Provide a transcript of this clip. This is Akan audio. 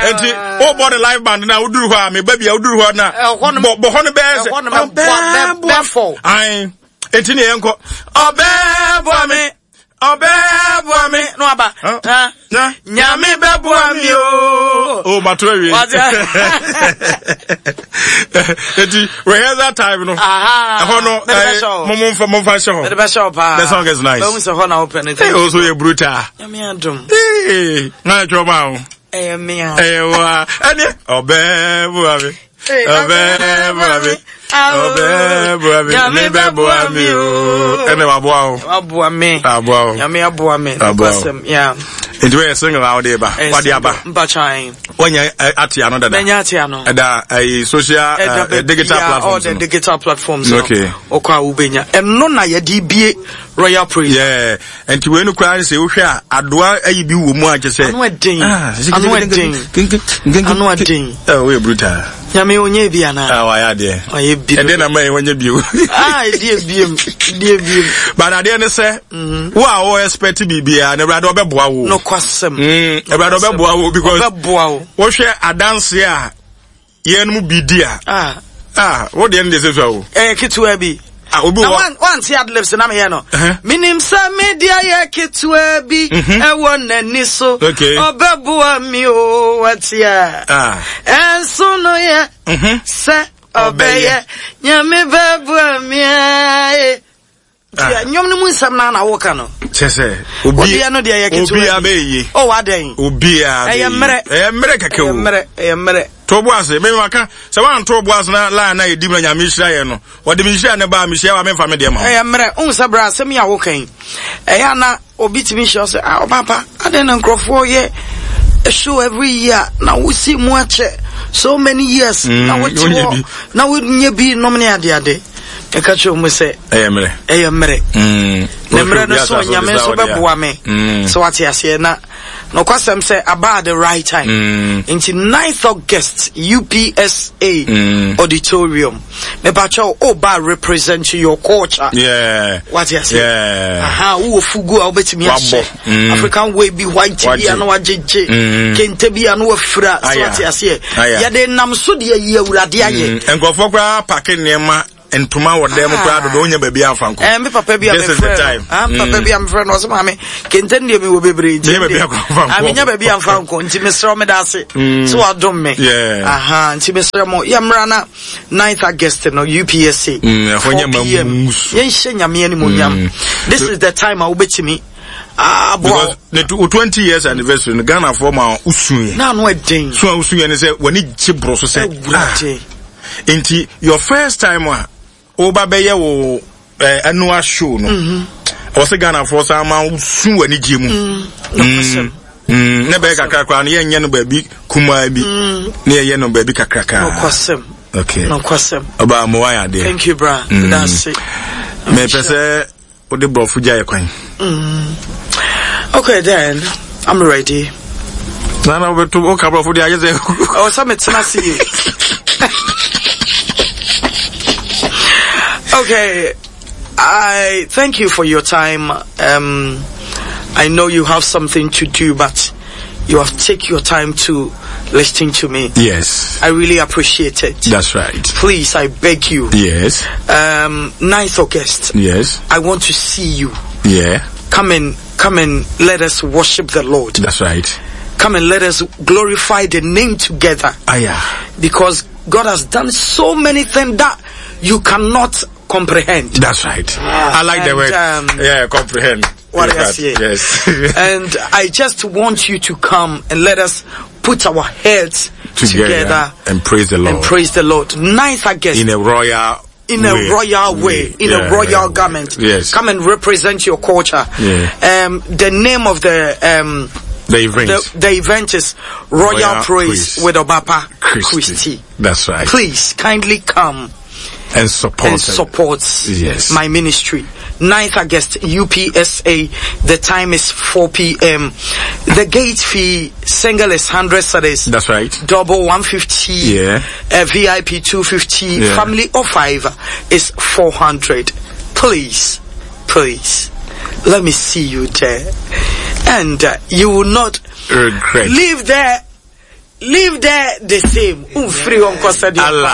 Enti wobɔ ne live band na woduru hɔ a meba bi a woduru hɔ na bɔ hɔ no bɛyɛ sɛ ɔbɛboa ae enti ne yɛnkɔ ɔbɛboa me ɔbɛboa me no aba nyame bɛboa me o o mato awie eti rehearsal time no ɛhɔ no mo mo nfa mo nfa hyɛ hɔ the song is nice bɛhu sɛ hɔ na wopɛ no ee o so yɛ brutal nyame adom ee na ɛtwerɛ ma o ɛyɛ mea ɛyɛ wa ɛne ɔbɛboa me ɔbɛboa me ɔbɛboa me nyame bɛboa me o ɛne waboa o waboa me aboa o nyame aboa me aboa o yeah nti wɔyɛ single a wɔde ba wɔde aba mpatwan wɔnyɛ ate ano dada mɛnya ate ano ɛda ɛyi social digital platforms all the digital platforms okay ɔkɔ a wobɛnya ɛno na yɛde bie royal praise yeah Nti wei no koraa sɛ wohwɛ a adoa ayi bi wɔ mu a kyɛ sɛ. Ano ɛden. Ah, ano ɛden. Ano ɛden. Ɛ woyɛ brutal. Nyame onye bi ana. Ah wayɛ adeɛ. Wayɛ bi. Ɛdeɛ na mɛyɛ wɔnyɛ bio. Ah ɛdi ebiem. Ɛdi ebiem. But adeɛ ne sɛ mm-hmm. wo a wo expect biribiara na Awurade ɔbɛboa wo. Nokwasɛm. Mm, Awurade ɔbɛboa wo because. Ɔbɛboa wo. Wohwɛ adanseɛ a Yɛn mu bi di a. Ah. Ah, wo deɛ no deɛ sɛ sua o. Ɛyɛ ketewa bi. Ah, obi wɔ. Na wante adlibs na meyɛ no. Menim sɛ me deɛ yɛ ketewa bi mhm. ɛwɔ n'ani so. Okay. Ɔbɛboa mi o watia. Ah. Ɛnso no yɛ mhm. sɛ ɔbɛyɛ nyame bɛboa mi ae. Ah. Nnwom no mu nsɛm no na woka no. Kyɛ sɛ obi obiara no deɛ yɛ ketewa obiara bɛyɛ yie. Oh adɛn. Obiara bɛyɛ ɛyɛ mmerɛ. Ɛyɛ mmerɛ kɛkɛ o. Ɛyɛ mmerɛ ɛyɛ mmerɛ. To bo ase mɛ maka sɛ wanto bo ase na line na yɛdi mu na nyame hyira yɛ no wɔde me nhyira ne baa mehyia wa memfa me deɛ ma. Ɛyɛ mmerɛ wohu sɛ berɛ asɛm yi a woka yi ɛyɛ ana obi tumi hyia sɛ ah ɔbaapa adɛn na nkurɔfoɔ yɛ show every year na wosi mu akyɛ so many years mm, na wote hɔ na wonyɛ bi nom ne adeade ɛka kyerɛ mu sɛ ɛyɛ mmerɛ ɛyɛ mmerɛ mm. na mmerɛ no so nyame nso bɛboa me mm. sɛ wate aseɛ na nokwasɛm sɛ aba at the right time mm. nti 9th August UPSA mm. auditorium mepakyɛw o ba represent your culture yeah. wate aseɛ yeah. aha wowɔ fugu a wobɛtumi ahyɛ mm. African way bi white bi a na wagyegye mm. kente bi a na wafira so wate aseɛ yɛde nam so deɛ yi awurade ayɛ mm. nkurɔfoɔ koraa pake nneɛma ntoma wɔ dan mu koraa dodo wonya baabi amfa nkɔ. ɛɛ me papa bi a mefrɛ no ah me papa bi a mefrɛ no ɔsɛ maame kente no deɛ mewɔ bebree nti menya baabi amfa nkɔ menya baabi amfa nkɔ nti mesrɛ wo meda ase mm. sɛ wadom me aha nti mesrɛ mo yɛmmra na 9th August no UPSA mm, 4 pm yɛnhyɛ nyame animonyam mm. this is the time a wobɛtumi aboa because ne 20 years anniversary no Ghana for ma usuye na ano ɛden so a usuye ne sɛ wani gye boro so sɛ awurade nti your first time a woba bɛyɛ wo eh, annual show no mm-hmm. ɔwɔ sɛ Ghanafoɔ san ma su wɔ anigye mu mm, mm, mm, na bɛyɛ kakra koraa no yɛnyɛ no baabi kumaa bi na yɛyɛ no baabi kakraka nokwasɛm okay nokwasɛm ɔbaa mo wayɛ adeɛ thank you bra mm. that's it mepɛ sɛ wode borɔfo gya yɛ kwan mm. okay then i'm ready na na wobɛto woka borɔfo deɛ ayɛ sɛ ɛwɔ sɛ metena ase yie okay i thank you for your time um, i know you have something to do but you have take your time to listen to me. Yes. I really appreciate it. That's right. Please, I beg you. Yes. Um, 9th August. Yes. I want to see you. Yeah. Come and, come and let us worship the Lord. That's right. Come and let us glorify the name together. Ah, yeah. Because God has done so many things that you cannot comprehend. That's right. I like and, the word. Um, yeah, comprehend. What I say. Yes. and I just want you to come and let us put our heads together, together and praise the Lord. And praise the Lord. Ninth August. In a royal in a way. royal way, in yeah, a royal garment. Yes. Come and represent your culture. Yeah. Um, the name of the um, the event. The, the event is Royal, Royal Praise, Praise with Obaapa Christie. Christie. That's right. Please kindly come and support and support yes. my ministry. 9th August, UPSA. The time is 4 p.m. The gate fee, single is 100 cedis. That's right. Double 150. Yeah. Uh, VIP 250. Yeah. Family of five is 400. Please, please, let me see you there. And uh, you will not regret. Leave there. Leave there the same. Umfiri hɔ nkɔ sɛdeɛ. Allah.